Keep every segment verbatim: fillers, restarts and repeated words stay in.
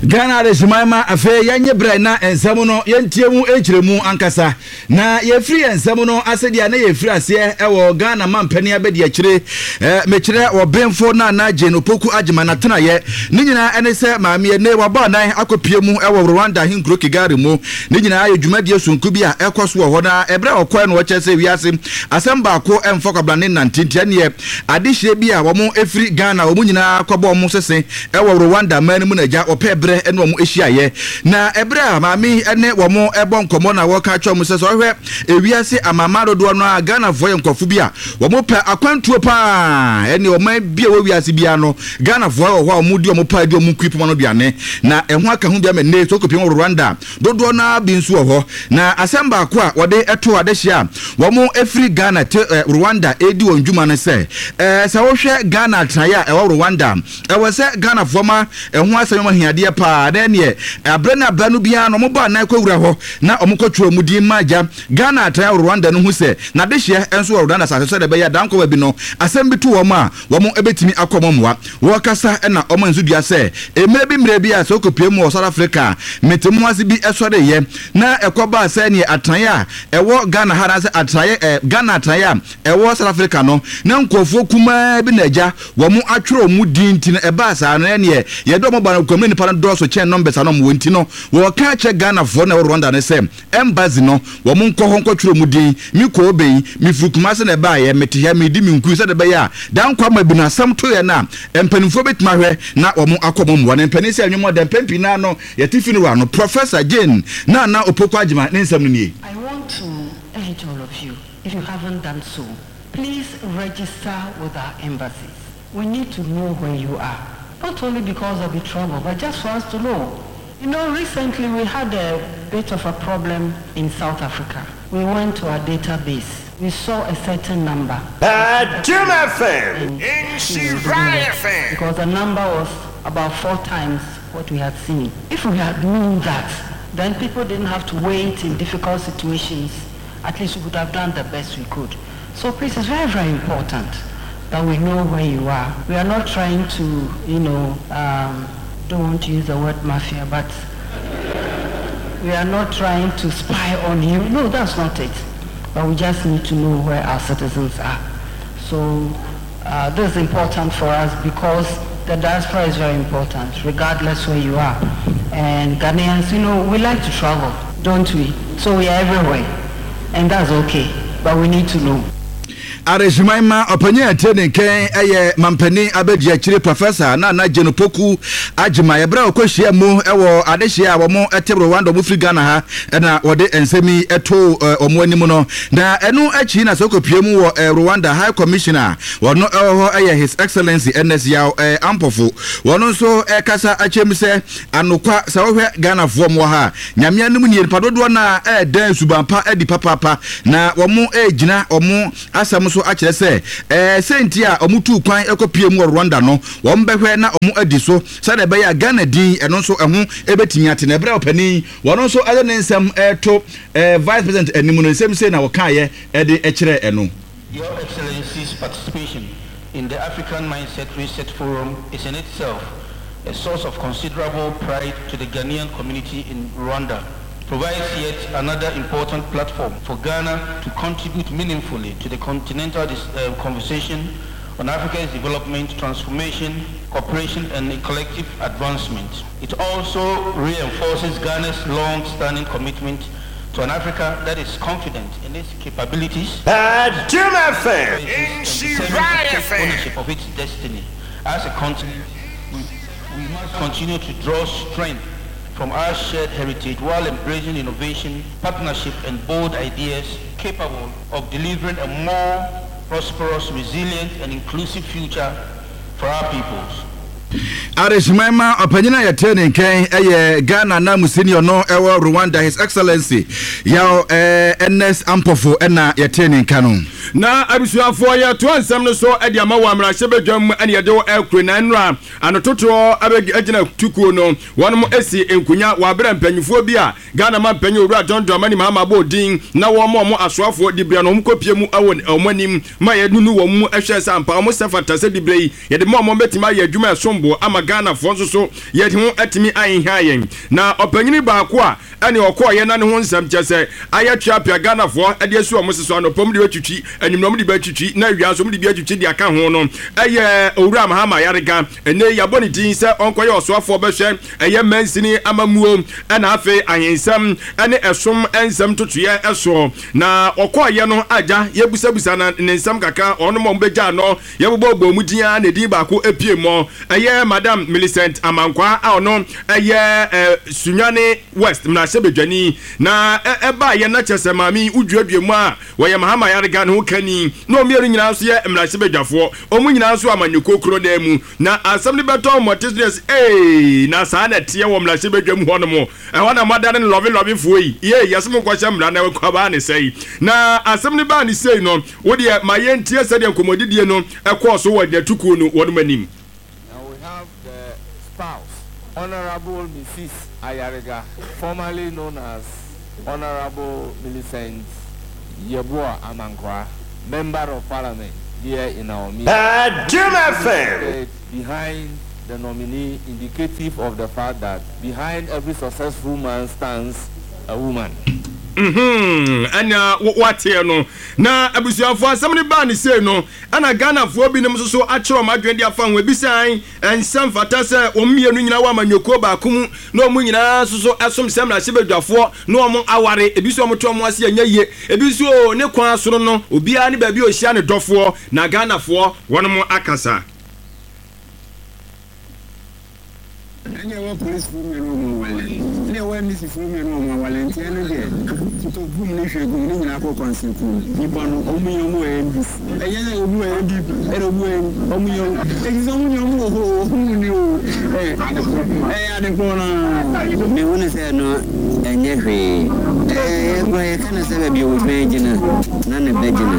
Ghana adehyeman ma afei yɛnyɛ berɛ na nsɛm no yɛntie mu nkyerɛ mu ankasa. Na yɛfiri yɛn nsɛm no ase deɛ, na yɛfiri aseɛ ɛwɔ Ghana mampanin abɛdi akyire, ɛɛ mekyerɛ ɔbenfo Nana Jane Opoku Agyemang n'atenaeɛ. Ne nyinaa ɛne sɛ maame ɛne wabɔ anan akɔpie mu ɛwɔ Rwanda ahenkuro Kigali mu. Ne nyinaa yɛ dwumadie sonko bi a ɛkɔ so wɔ hɔ. Na ɛberɛ a ɔkɔɛ no, wɔkyerɛ sɛ wiase asɛm baako ɛmfa kwabra ne nante, nti ɛneɛ adehyeɛ bi a wɔn ɛfiri Ghana wɔn nyinaa kɔbɔ wɔn sese ɛwɔ Rwanda man no mu na agya wɔpɛ berɛ ɛne wɔn ahyiaeɛ. Na ɛberɛ a maame ɛne wɔn ɛbɔ nkɔmmɔ na wɔka kyerɛ wɔn sɛ sɛ ɔhwɛ ewiase amama dodoɔ no a, Ghanafoɔ yɛ nkurɔfo bi a wɔn pɛ akwantuo paa. Ɛne ɔman bi a ɛwɔ wiase biara no, Ghanafoɔ wɔ hɔ a wɔn di wɔn pa di wɔn nkui poma no duane na ɛho aka ho bi ama nne so kɔpiem wɔ Rwanda dodoɔ naa bi nso wɔ hɔ. Na asɛm baako a wɔde ɛto adehyɛ a wɔn efiri Ghana te ɛ Rwanda edi wɔn dwuma no sɛ ɛɛ sɛ wɔhwɛ Ghana atenaeɛ a ɛwɔ Rwanda, ɛwɔ sɛ Ghanafoɔ ma ɛho asɛm yɛ ahiadeɛ paa. Na ɛneɛ abrɛ ne abrɛ no biara no, wɔn bɔ anan kɔwura hɔ na wɔn kɔtwerɛ mu din ma agya Ghana atenaeɛ wɔ Rwanda no ho sɛ n'adehyeɛ nso wɔ Rwanda asase so, sɛdeɛ ɛbɛyɛ adankɔ baabi no asɛm bi to wɔn a, wɔn bɛtumi akɔ wɔn mmoa. Wɔkasa ɛna wɔn nso dua sɛ mmerɛ bi mmerɛ bi a sɛ ɔkɔpie mu wɔ South Africa, mete mu ase bi ɛsɔreyɛ na ɛkɔbaa sɛ neɛ atenaeɛ a ɛwɔ Ghana ha anaasɛ atenaeɛ ɛ Ghana atenaeɛ a ɛwɔ South Africa no, na nkurɔfoɔ kumaa bi na agya wɔn atwerɛ wɔn din. Nti no ɛbaa saa no, ɛneɛ yɛde wɔn ba no kɔmɛ nipa no dɔɔso kyɛn numbers ano wɔn. Nti no wɔka kyerɛ Ghanafoɔ na ɛwɔ Rwanda no sɛ embassy no, wɔn nkɔ hɔ nkɔtwerɛ mu din. Mi kɔ obɛyi mefiri Kumase na ɛbaayɛ, mete ha medi mi nkui, sɛdeɛ ɛbɛyɛ a dankwa ma bi no asɛm to yɛ no a, mpanimfoɔ bɛtumi ahwɛ na wɔn akɔ wɔn mmoa. Na mpanin sɛ ɛnwom ɔdɛ mpɛn pii naa no yɛte fi no wɔ ano. Professor Jane Nana Opoku Agyemang ne nsɛm no nie. I want to urge all of you, if you haven't done so, please register with our embassies. We need to know where you are. Not only because there'll be trouble, but just for us to know. You know, recently we had a bit of a problem in South Africa. We went to our database. We saw a certain number. Adom F M. Nhyira F M. Because the number was about four times what we had seen. If we had known that, then people didn't have to wait in difficult situations. At least we would have done the best we could. So please, it's very, very important that we know where you are. We are not trying to, you know, um, don't want to use the word mafia, but we are not trying to spy on you. No, that's not it. But we just need to know where our citizens are. So uh, this is important for us because the diaspora is very important, regardless where you are. And Ghanaians, you know, we like to travel, don't we? So we are everywhere. And that's okay. But we need to know. Aresuman ma ɔpanyin a ɛte ne nkyɛn ɛyɛ mampanin abɛdi akyire Professor Nana Jane Opoku Agyemang. Yɛbrɛ a ɔkɔhyia mu ɛwɔ adehyia a wɔn ɛte Rwanda, wɔn firi Ghana ha, ɛna wɔde nsɛm yi ɛto wɔn anim no. Na ɛno akyi na sɛ ɔkɔpie mu wɔ Rwanda High Commissioner, wɔn ɛwɔ hɔ ɛyɛ His Excellency Ernest Yaw ɛɛ Ampofo. Wɔn nso ɛkasa akyɛm sɛ anokwa sɛ wɔhwɛ Ghanafoɔ mu wɔ ha, Nyame anim nie, nipa dodoɔ no a ɛɛdɛn suban pa adi papaapa. Na wɔn ɛɛgyina wɔn asɛm so akyerɛ sɛ ɛɛ sɛnti a wɔn tu kwan ɛkɔpie mu wɔ Rwanda no, wɔn bɛhwɛ na wɔn adi so sɛdeɛ ɛbɛyɛ a Ghana din ɛno nso ɛho ɛbɛtumi ate. Na ɛberɛ a ɔpanin wɔn nso ɛde ne nsɛm ɛɛto ɛɛ Vice President anim no, nsɛm sei na wɔkaeɛ ɛde ɛkyerɛ ɛno. Your Excellency's participation in the African Mindset Reset Forum is in itself a source of considerable pride to the Ghanaian community in Rwanda, provides yet another important platform for Ghana to contribute meaningfully to the continental uh, conversation on Africa's development, transformation, cooperation, and collective advancement. It also reinforces Ghana's long-standing commitment to an Africa that is confident in its capabilities Adom F M. and Nhyira determined to take F M. ownership of its destiny. As a continent, we, we must continue to draw strength from our shared heritage while embracing innovation, partnership, and bold ideas capable of delivering a more prosperous, resilient, and inclusive future for our peoples. Adehyemman ma ɔpanyin a yɛte ne nkyɛn ɛyɛ Ghana na musini ɔno ɛwɔ Rwanda, His Excellency Yaw ɛɛ Ernest Ampofo, ɛna yɛte ne nka no. Na abusuafoɔ, yɛtoa nsɛm no so de ama wɔ mmarahyɛbadwam ɛne yɛde wɔ ɛkuro na nnora anototoɔ agyina tukuo no, wɔnom asi nkonya wɔ aberɛ mpanyinfoɔ bi a Ghana ma mpanyin Owura John Dramani Mahama bɔ din na wɔn a wɔn asoafoɔ dibrɛ no, wɔn kɔpie mu ɛwɔ wɔn anim ma yɛnunu wɔn mu ɛhwɛ sɛ ampa wɔn sɛ fata sɛ dibrɛ yi yɛde ma wɔn bɛtumi ayɛ adwuma ɛsom. possible ama Ghanafoɔ nso so yɛde ho atumi ahenha yɛn. Na ɔpanyini baako a ɛne ɔkɔɔyɛ na ne ho nsɛm kyɛ sɛ ayɛ tweapea Ghanafoɔ ɛde asi wɔn so, anɔpam de bɛtwitwi, anwummerɛ de bɛtwitwi, na awia nso de bi atwitwi de aka ho no, ɛyɛ Owura Mahama Ayariga. Ɛnɛ yɛabɔ ne din sɛ ɔnkɔyɛ ɔsoafoɔ bɛhwɛ ɛyɛ mansini amammuo ɛna afei ahensɛm ɛne ɛsom nsɛm totoeɛ ɛsoɔ. Na ɔkɔɔyɛ no agya yɛbusabusa na ne nsɛm kakra, ɔno ma ɔmbɛgya no yɛbobɔ bɔ mu din a ne din baako epie mɔ, ɛyɛ Madam Millicent Amankwa a ɔno ɛyɛ ɛ Sunyani West mmarahyɛbadwani. Na ɛbaayɛ na kyerɛ sɛ maame woduadua mu a wɔyɛ Mahama Ayariga ne ho kani, na ɔmmienu nyinaa nso yɛ mmarahyɛbadwafoɔ, ɔmo nyinaa nso amanyɔkuo kuro dan mu. Na asɛm no bɛtɔ mmɔte so yɛ sɛ ee, na saa na ɛteɛ wɔ mmarahyɛbadwa mu hɔ nom ɛhɔ na moadane no lɔve lɔvefoɔ yi ye yɛsɛ mo nkɔhyɛ mmara na ɛkɔbaa ne sɛi. Na asɛm no baa ne sei no, wodeɛ ma yɛntie sɛdeɛ nkɔmmɔdidie no ɛkɔɔ so wɔ agyinatukuo no wɔnom anim. Now we have the spouse, Honorable Missus Ayariga, formerly known as Honorable Millicent Yeboah Amankwa, Member of Parliament here in our meeting. Jim F M. Behind the nominee, indicative of the fact that behind every successful man stands a woman. Mhm, ɛna wateɛ no. Na abusuafoɔ, asɛm no baa ne sei no, ɛna Ghanafoɔ binom nso so akyerɛ ɔmo adwene de afa ho. Ebi sɛn ɛnsɛm fata sɛ wɔn mmienu nyinaa wɔ amanyɔkuo baako mu na wɔn nyinaa nso so ɛsom sɛ mmarahyɛbadwafoɔ na wɔn aware. Ebi nso wɔn to wɔn ase ɛnyɛ yie. Ebi nso o ne kwan soro no, obiara ne baabi a ohyia ne dɔfoɔ. Na Ghanafoɔ wɔn akasa. Ɛne ɛwɔ polisifoɔ mmienu wɔ mu awale, ɛne ɛwɔ N D C foɔ mmienu wɔ mu awale, nti ɛno deɛ totɔ gum ne hwɛ gum ne nyinaa kɔ kɔnsɛnkuo nipa no ɔmo yɛ ɔmo wɔ N D C, ɛyɛ sɛ obi wɔ N P P, ɛna obi wɔ ɔmo yɛ eti sɛ ɔmo nyɛ ɔmo wɔ hɔ ɔmo ni o ɛ ɛyɛ ade korɔ naa. Mehu ne sɛ no ɛnyɛ hwee, ɛɛ yɛkora yɛka no sɛ baabi a wɔdwan gyina na ne bɛ gyina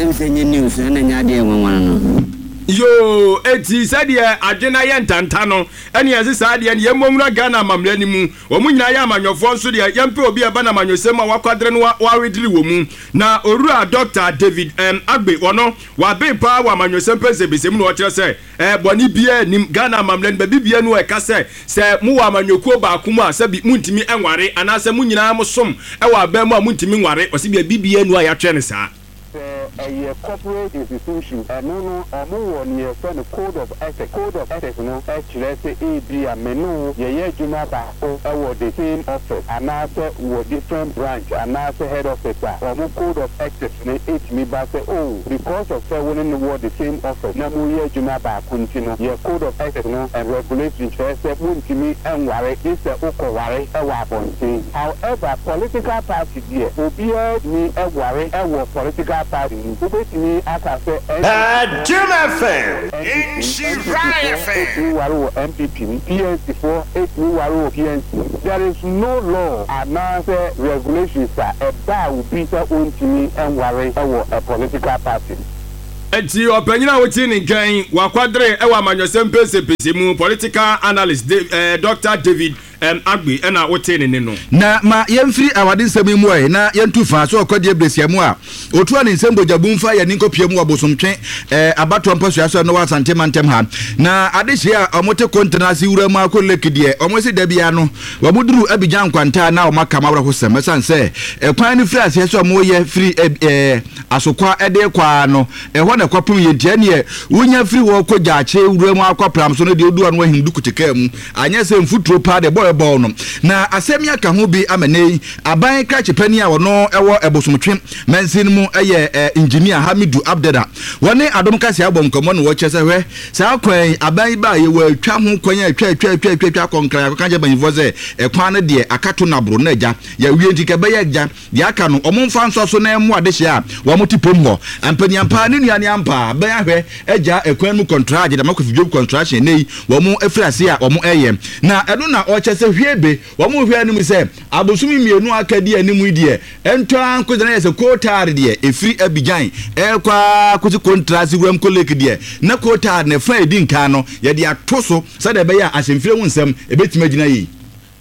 ɛm sɛ nyɛ news, ɛna nyɛ adeɛ nwanwana no. Yoo, eti sɛdeɛ adwene ayɛ ntanta no, ɛne ɛse saa deɛ no yɛmmɔ nwura Ghana amammerɛ no mu. Wɔn nyinaa yɛ amanyɔfoɔ nso deɛ, yɛmpɛ obi a ɛba no amanyɔsɛm a wakwadere no wawedere wɔ mu. Na Owura Doctor David um, Agbe, wɔno waben paa wɔ amanyɔsɛm pɛnsɛmpɛsɛm mu, na ɔkyerɛ sɛ ɛɛ bɔne biara nim Ghana amammerɛ no baabi biara no ɛka sɛ sɛ mowɔ amanyɔkuo baako mu a, sɛbi muntumi nware, anaasɛ mo nyinaa mo som ɛwɔ aban mu a muntumi nware. Ɔsi baabi biara no a yɛatwerɛ no saa. Sɛ ɛyɛ corporate institution, ɛno no ɔmo wɔ ne yɛfrɛ no code of ethics. Code of ethics no ɛkyerɛ sɛ ebi a me ne wo yɛyɛ adwuma baako ɛwɔ the same office anaasɛ wɔ different branch anaasɛ head office a, ɔmo code of ethics no etumi ba sɛ, oh, because of sɛ wo ne no wɔ the same office na mo yɛ adwuma baako nti no, yɛ code of ethics no and regulation kyerɛ sɛ montumi ɛnware gye sɛ wokɔware ɛwɔ abɔnten. However, political party deɛ, obiara tumi ɛware ɛwɔ political party mu. Wobɛtumi aka sɛ Jim F M. Nhyira F M. Ɛtumi ware wɔ N P P mu, P N C foɔ ɛtumi ware wɔ P N C. There is no law anaasɛ regulations a ɛbaa obi sɛ ɔntumi ɛnware ɛwɔ a political party. Eti ɔpanyin a wotie ne nkyɛn wakwadere ɛwɔ amanyɔsɛm pɛsɛpɛsɛ mu, political analyst De, eh, Doctor David um, Agbe, ɛna wote ne ne no. Na ma yɛmfiri awade nsɛm yi mu ɛ na yɛntu fa so ɔkɔdeɛ besia mu a ɔtua ne nsɛm bogyabu mfa yɛne nkɔpie mu wɔ Bosomtwe eh, abatoɔ mpasua so no wɔ Asante mantam ha. Na adehyɛ a ɔmote kontena ase wura mu akɔ lake deɛ, ɔmo se da bia no wɔn duru Abigya Nkwanta na ɔmo aka ma awerɛhosɛm, ɛsiane sɛ ɛkwan no firi aseɛ sɛ ɔmo yɛ firi ɛɛ Asokwa ɛde kɔ no ɛhɔ na ɛkɔpem yɛ, ntia neɛ wonya firi hɔ kɔ Gyaakye wura mu akɔ Pram so no deɛ, odu ano ahim du kutekaa mu anyɛ sɛ mfuturo paa deɛ bɔɔ ɛbɔɔ no. Na asɛm yi aka ho bi ama ne yi aban krakye panyin a ɔno ɛwɔ Ɛbosomtwe mansin mu, ɛyɛ ɛ Engineer Hamidu Abdada, wɔne Adom Kase abɔ nkɔmmɔ no, wɔkyerɛ sɛ hwɛ, saa kwan yi aban yi baa yɛ wɔatwa ho kwan a atwa atwa atwa atwa atwa akɔ Nkran akɔka kyerɛ mpanyinfoɔ sɛ ɛkwan no deɛ akato naboro na agya yɛwie, nti kɛbɛyɛ agya deɛ aka no ɔmo mfa nsɔ so na ɛmo adehyɛ a wɔn te pom hɔ mpanyinampa ne nua ne ampa bɛn ahwɛ agya ɛkwan mu contract dama Kofi Job Construction ne yi wɔn afiri ase a wɔn ɛyɛ. Na ɛno na ɔkyɛ sɛ hwie be wɔn hwɛ anim sɛ abosomi mmienu aka di anim yi deɛ, ɛntɔ nkogyina yɛ sɛ coal tar deɛ ɛfiri Abidjan ɛkɔ akɔsi Kontrase wuram kɔ lake deɛ, na coal tar ne fa edi nkan no yɛde ato so sɛdeɛ ɛbɛyɛ a ahyɛmfire ho nsɛm ɛbɛtumi agyina yie.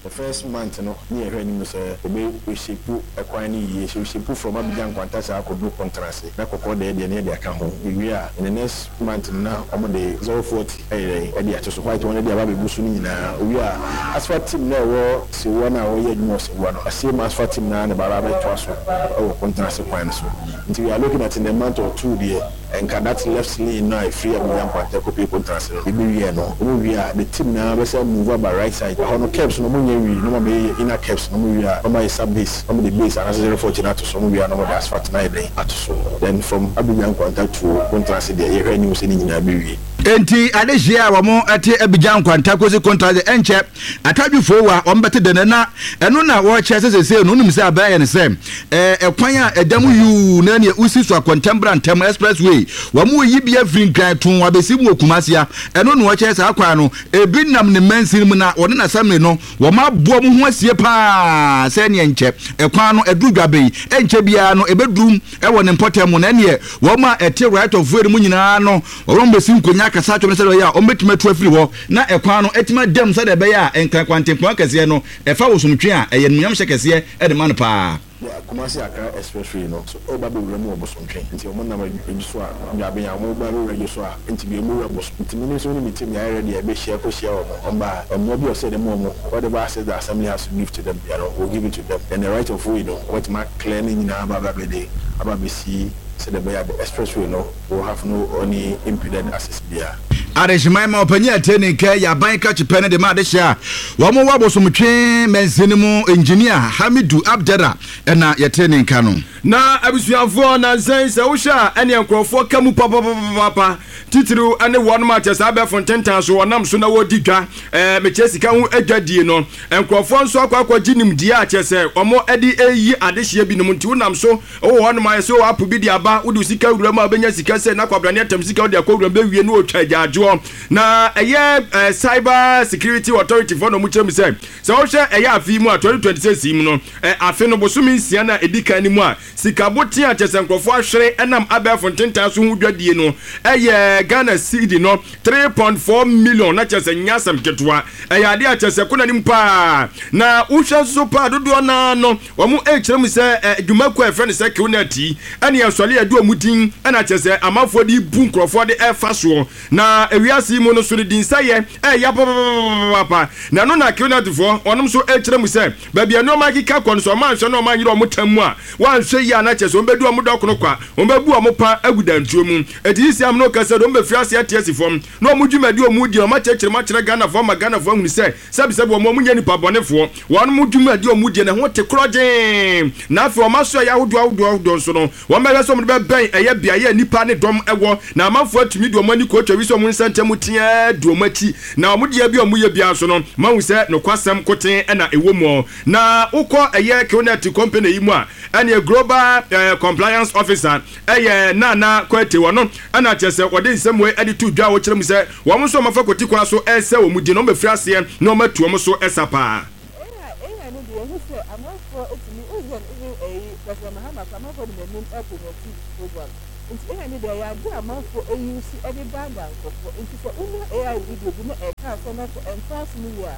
The first month no, ne yɛhwɛ anim sɛ ɔbɛ reshape ɛkwan no yie, so reshape from Abidjan Nkwanta saa akɔdu Kontrase na kɔkɔɔ deɛ deɛ ne yɛde aka ho. Ewie a, in the next month no, na ɔmo de zero forty ɛyɛ ɛde ato so, white wɔn de aba abɛgu so no nyinaa. Owie a, asphalt team na ɛwɔ Sewua no a wɔyɛ adwuma wɔ Sewua no, same asphalt team na ne baaba abɛtoa so ɛwɔ Kontrase kwan no so. Nti we are looking at in a month or two deɛ, nka that left lane no a ɛfiri Abidjan Nkwanta kɔpie Kontrase no ebi no, ɔmo wie a, the team na bɛsɛ move aba right side ɛhɔ no, curbs no ɔmo nyɛ wie na ɔmo abɛyɛ inner curbs na ɔmo wie a, ɔmo ayɛ sub base, ɔmo de base anaasɛ zero forty na ato so. Ɔmo wie a, na ɔmo de asphalt na ayɛ dɛn ato so. Then from Abidjan Nkwanta to Kontrase deɛ, yɛhwɛ anim sɛ ne nyinaa bɛwie. Enti adehyia a wɔn te Abidjan Nkwanta kosi Kontrase, ɛnkyɛ atadwofoɔ wa wɔn bɛte dɛnɛ na ɛno na wɔrekyerɛ sɛ sɛsɛ no, wonim sɛ abɛn yɛ no sɛ ɛɛ ɛkwan a ɛda mu yuu na neɛ wosi so akɔntɛmbra ntɛm expressway, wɔn yi bi afiri Nkran tun abɛsi mu wɔ Kumasi a, ɛno na wɔkyerɛ saa kwan no ebi nam ne mansin mu na wɔne n'assembly no wɔn aboɔ mu ho asie paa sɛ neɛ nkyɛ ɛkwan no ɛduru dwabe ɛnkyɛ biara no ɛbɛduru ɛwɔ ne mpɔtam mu, na neɛ wɔn a ɛte right of way no mu nyinaa no, wɔn bɛsi nkonnwa akasa atwom sɛ ɛbɛyɛ a wɔn bɛtumi atu afiri hɔ na ɛkwan no ɛtumi adam sɛdeɛ ɛbɛyɛ a Nkran kwantempɔn kɛseɛ no ɛfa wosomtwe a ɛyɛ nnuamhyɛ kɛseɛ ɛde ma no paa. Kumasi Accra Expressway no so ɔba bɛwura mu wɔ Bosomtwe, nti ɔmo nam adwo so a dwaben a ɔmo ba bɛwura adwo so a, nti bi ɔmo wura Bosom. Nti mi nso ne mi team yɛ ready a ɛbɛhyia kɔhyia wɔn. Ɔmo a mmoa bi a ɔsɛ dɛm wɔn, whatever access the assembly has to give to them you know, we'll give it to them. Then the right of way no, wɔtumi clear ne nyinaa aba aba bɛde aba bɛsi sɛdeɛ ɛbɛyɛ a the expressway no will have no any impeded access biara. Adehyeman ma ɔpanyin a ɛte ne nka yɛ aban krakye pɛ no de ma adehyɛ a wɔn wɔ Abosomtwe mansini mu, Engineer Hamidu Abdera, ɛna yɛte ne nka no. Na abusuafoɔ, nansɛn sɛ wohwɛ a, ɛneɛ nkurɔfoɔ ka mu papapapapa, titiriw ne wɔnom a kyɛ saa abɛɛfo ntentan so wɔnam so na wɔdi dwa, ɛɛ mekyɛ sika ho adwadie no. Nkurɔfoɔ nso akɔ akɔgye nimdeɛ a kyɛ sɛ wɔn de ɛyi adehyeɛ binom. Nti wonam so wɔ hɔnom ayɛ sɛ app bi de aba, wode sika wura mu a, wobɛnya sika sɛ na kwabrane atam sika wode akɔ wura mu bɛwie ne wɔtwa agyaadwoɔ. Na ɛyɛ ɛɛ Cyber Security Authority foɔ na ɔmo kyerɛ mu sɛ sɛ wohwɛ ɛyɛ afe yi mu a twenty twenty-six yi mu no, ɛ afe no bosome nsia na ɛdi kan no mu a, sika boten a kyɛ sɛ nkurɔfoɔ ahwere ɛnam abɛɛfo ntentan so ho dwadie no ɛyɛ Ghana cedi no three point four million, na kyɛ sɛ nyɛ asɛm ketewa. Ɛyɛ adeɛ a kyɛ sɛ kɔ n'anim paa. Na wohwɛ nso paa dodoɔ naa no, wɔn ɛrekyerɛ mu sɛ ɛ dwumakuo a yɛfrɛ no sɛ QNet yi ɛne ɛsɔle ɛde wɔn din ɛna kyɛ sɛ amanfoɔ de bu nkurɔfoɔ de ɛfa soɔ. Na ewiase yi mu no so no di nsɛyɛ ɛyɛ papapapapa, na ɛno na QNet foɔ wɔn nso ɛrekyerɛ mu sɛ baabi a nneɛma akeka kɔ no so, ɔmo anhwɛ na ɔmo anyere ɔmo tam mu a, wɔanhwɛ yie a, na kyɛ sɛ wɔn bɛdu ɔmo dɔkono kwa, wɔn bɛbu ɔmo pa agu dantuo mu. Eti sisi am no kasa de, wɔn bɛfiri ase ate asi fam na wɔn dwumadi wɔn di, wɔn akyerɛkyerɛ mu akyerɛ Ghanafoɔ ama Ghanafoɔ ahunu sɛ sɛbisɛbi wɔn wɔn nyɛ nipa bɔnefoɔ. Wɔn mo dwumadi wɔn di na ho te korɔgyee. Na afei wɔn aso ɛyɛ ahodoɔ ahodoɔ ahodoɔ nso no, wɔn bɛhwɛ sɛ wɔn de bɛbɛn ɛyɛ beaeɛ a nipa ne dɔm ɛwɔ, na amanfoɔ atumi de wɔn ani kɔ atwa wi sɛ wɔn nsa ntam teɛ di wɔn akyi, na wɔn deɛ bi a wɔn yɛ biara so no, mahu sɛ nokwasɛm koten ɛna ɛwɔ mu. Na wokɔ ɛyɛ QNet company yi mu a, ɛne global eh, compliance officer ɛyɛ Nana Kwete wɔ no, ɛna kyerɛ sɛ wɔde nsɛm wei ɛde to dwa a wɔkyerɛ mu sɛ wɔn nso wɔn afa kɔti kwan so ɛsɛ wɔn di na wɔn bɛfiri aseɛ na wɔn atu wɔn so ɛsa paa. A I no deɛ, yɛhu sɛ amanfoɔ etumi woyɛ no, even ɛyi President Mahama kɔ, amanfoɔ de n'anim ɛpromote program. Nti A I no deɛ, ɛyɛ ade a amanfoɔ eyi si ɛde daadaa nkurɔfoɔ. Nti sɛ wonya A I video bi na ɛka asɛm na sɛ ɛnfa ase no yie a,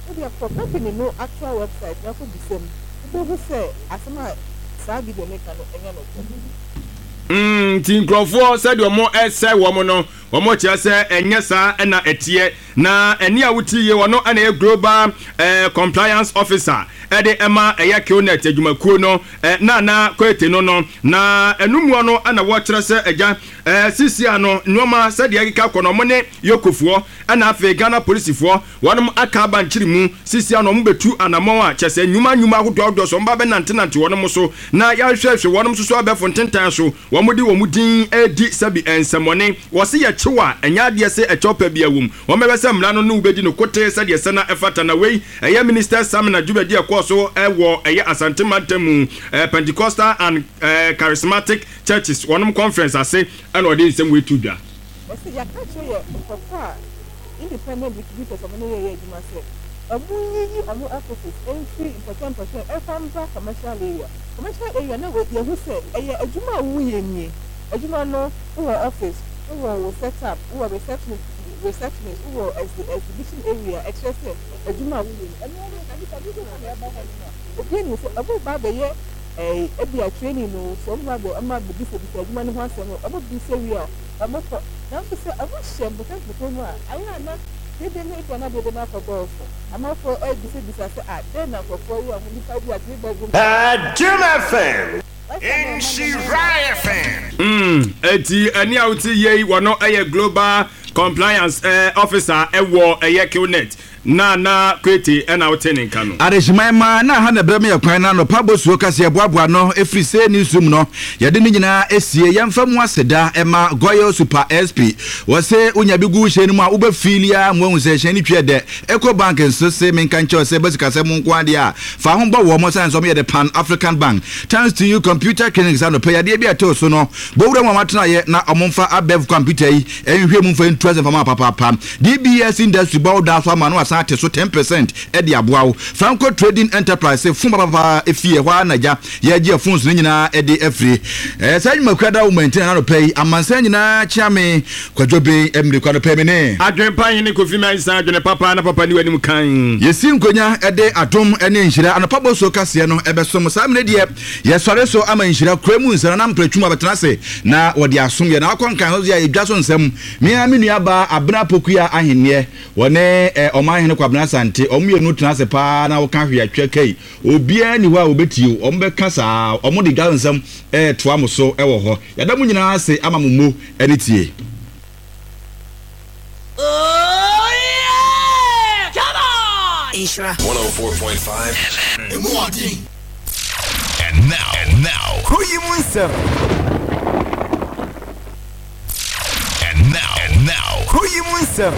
wode kɔ company no actual website na kɔ bisa mu, wobɛhu sɛ asɛm a saa video no ka no ɛnyɛ nokorɛ. Nti nkurɔfoɔ, sɛdeɛ ɔmo ɛsɛ wɔn no, wɔn kyerɛ sɛ ɛnyɛ saa ɛna ɛteɛ. Na ɛne a wotie yie, wɔno ɛna ɛyɛ global ɛɛ compliance officer ɛde ɛma ɛyɛ QNet adwumakuo no, ɛ Nana Kwete no no na ɛnumua no ɛna wɔkyerɛ sɛ ɛgya ɛɛ sisi ano nneɛma sɛdeɛ ɛkeka kɔ no, ɔmo ne yokofoɔ ɛna afei Ghana polisifoɔ wɔnom aka aba nkyiri mu. Sisi ano ɔmo bɛtu anammɔn a kyɛ sɛ nnwuma nnwuma ahodoɔ ahodoɔ so ɔmo ba bɛnantenante wɔnom so na yɛahwehwɛhwɛ wɔnom nso so abɛfo ntentan so wɔn de wɔn din edi sɛbi nsɛmɔne. Wɔsi yɛ kyew a, ɛnyɛ adeɛ sɛ ɛkyɛw pɛ bi ɛwom, wɔn bɛbɛ sɛ mmara no ne wobɛdi no kote sɛdeɛ sɛ na ɛfata. Na wei ɛyɛ minister seminar dwumadi ɛkɔɔ so ɛwɔ ɛyɛ Asante mantam mu, ɛɛ Pentecostal and ɛɛ Charismatic churches wɔnom conference ase, ɛna ɔde nsɛm wei to dwa. Wɔsi yɛaka kyerɛ yɛ nkurɔfoɔ a independent distributors ɔmo ne yɛyɛ adwuma sɛ ɔmo yiyi ɔmo offices mfiri mpɔkyɛ mpɔkyɛ ɛfa mbra commercial area. Commercial area na yɛhu sɛ ɛyɛ adwuma a woyɛ nie, adwuma no wowɔ office, wowɔ wo set up, wowɔ receptionist. Receptionist wowɔ exhibition area, ɛkyerɛ sɛ adwuma a woyɛ no ɛno no na nipa dodoɔ na ɛba hɔ no a obi anim sɛ ɔmo ba abɛyɛ ɛɛ ebi a training no sɛ ɔmo ba abɛ ɔmo abɛbisabisa adwuma no ho asɛm no, ɔmo bisa wie a ɔmo kɔ. Nanso sɛ ɔmo hyɛ mpɔtɔmpɔtɔ mu a, ayɛ ana dede no ebi ana dede no akɔ dɔɔso, amanfoɔ ɛbisabisa sɛ a dɛn na nkurɔfoɔ yi a ɔmo nipa bi a three bedroom. Adom F M. Nhyira F M. Mm, eti ɛni a wote yie yi, wɔno ɛyɛ global compliance eh, officer ɛwɔ ɛyɛ QNet na na Kwete ɛna wote ne nka no. Adehyeman ma na ha na brɛ me yɛ kwan na anɔpa bosuo kaseɛ boaboa no ɛfiri sɛ newsroom no yɛde ne nyinaa esie. Yɛmfa mu aseda ɛma Goil Super S P. Wɔsɛ wonya bi gu hyɛn no mu a, wobɛfiili a ma wahu sɛ hyɛn no twi dɛ. Eco Bank nso se menka nkyɛw sɛ bɛsikasɛm mu nko adeɛ a fa ho bɔ wɔ mo sane sɛ ɔmoyɛ de Pan African Bank. Thanks to You Computer Clinic, sɛ anɔpɛ yadeɛ bi a ɛtoo so no, bɔwura mu a watenaeɛ na ɔmomfa abɛf computer yi ɛnhwɛ mu mfa ntu asɛm fama papaapa. D B S Industry bɔ wo daa so ama no asan ate so ten percent ɛde aboa wo. Franco Trading Enterprise fon papapa efie hɔ a nagya yɛgye phones no nyinaa ɛde afiri ɛɛ saa nnwumakua da wo mɛntin na anɔpɛ yi amansan nyinaa kyea me Kwadwo Ben mmiri kwa anɔpɛ mi ne Adwempa hene Kofi Mɛnsa, adwene papa na papa ni w'anim kan. Yɛsi nkonya ɛde adom ne nhyira anɔpa bɔ kaseɛ no ɛbɛsom saa mmerɛ deɛ yɛsɔre so ama nhyira kura mu nsɛm na mpratwum abɛtena ase na wɔde asom yɛ na akɔ nkan so yɛ yɛdwa so nsɛm. Mea me nua baa Abena Pokua ahenneɛ wɔne ɛ ɔman hene Kwabena Asante, ɔmo mmienu tena ase paa na wɔka hwee atwa kai, obiara ni hɔ a wɔbɛtie o, ɔmo bɛka saa, ɔmo de dwa nsɛm ɛɛtoa mo so ɛwɔ hɔ. Yɛda mo nyinaa ase ama mo mo ɛne tie. Oh yeah! Come on! Nhyira one oh four point five. Emu ɔden. And now, and now, Kuro yi mu nsɛm. And now, and now, Kuro yi mu nsɛm.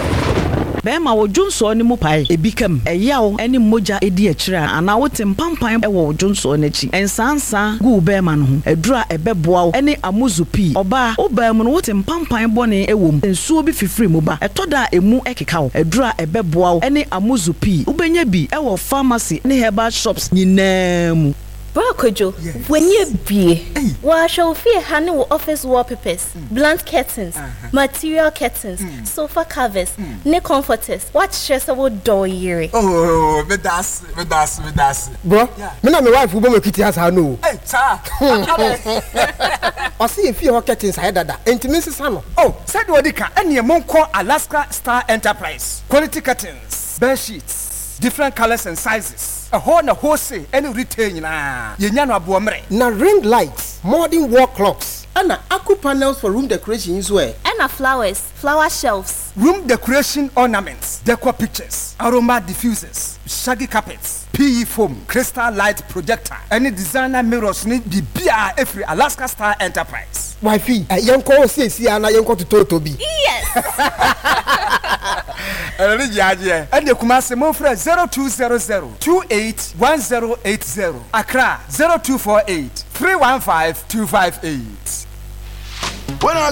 Bɛrima, wo dwonsoɔ no mu pae, ebi kam, ɛyaw ne mogya edi akyire a, anaa wote mpampan wɔ wo dwonsoɔ no akyi, nsansa gu wo bɛrima no ho, aduru a ɛbɛboa wo ne Amuzu Pii. Ɔbaa, wo baa mu no wote mpampan bɔne wɔ mu, nsuo bi fifiri mu ba, ɛtɔ da a emu keka wo, aduru a ɛbɛboa wo ne Amuzu Pii. Wobɛnya bi wɔ pharmacy ne herbal shops nyinaa mu. Bra Kwadwo, w'ani abie. Wɔahwɛ wo fie ha ne wo office wallpapers, blunt curtains, material curtains, sofa covers ne comforters. Woakyerɛ sɛ wodɔ wo yere. Oh, meda ase, meda ase, meda ase. Bro, me na me wife bɔ m'akiti asa no o. Hey, saa. Ɔse yɛ fie hɔ curtains ayɛ dada, enti me nsesa no. Oh, sɛdeɛ ɔdi ka ɛneɛ monkɔ Alaska Star Enterprise. Quality curtains, bed sheets, different colours and sizes. Ɛhɔ na wholesale ɛne retail nyinaa. Yɛnya no aboɔmmerɛ. Na ring lights, modern wall clocks, ɛna aku panels for room decoration nso ɛ? Ɛna flowers, flower shelves. Room decoration ornaments, decor pictures, aroma diffusers, shaggy carpets, P E foam, crystal light projector, ɛne designer mirrors ne biribiara ɛfiri Alaska Star Enterprise. Wifey, ɛ yɛnkɔ hɔ siesie a na yɛnkɔ totɔɔtɔ bi. Yes! Ɛno ne gye agyeɛ. Ɛne Kumase momfrɛ zero two zero zero two eight one zero eight zero, Accra zero two four eight three one five two five eight. When I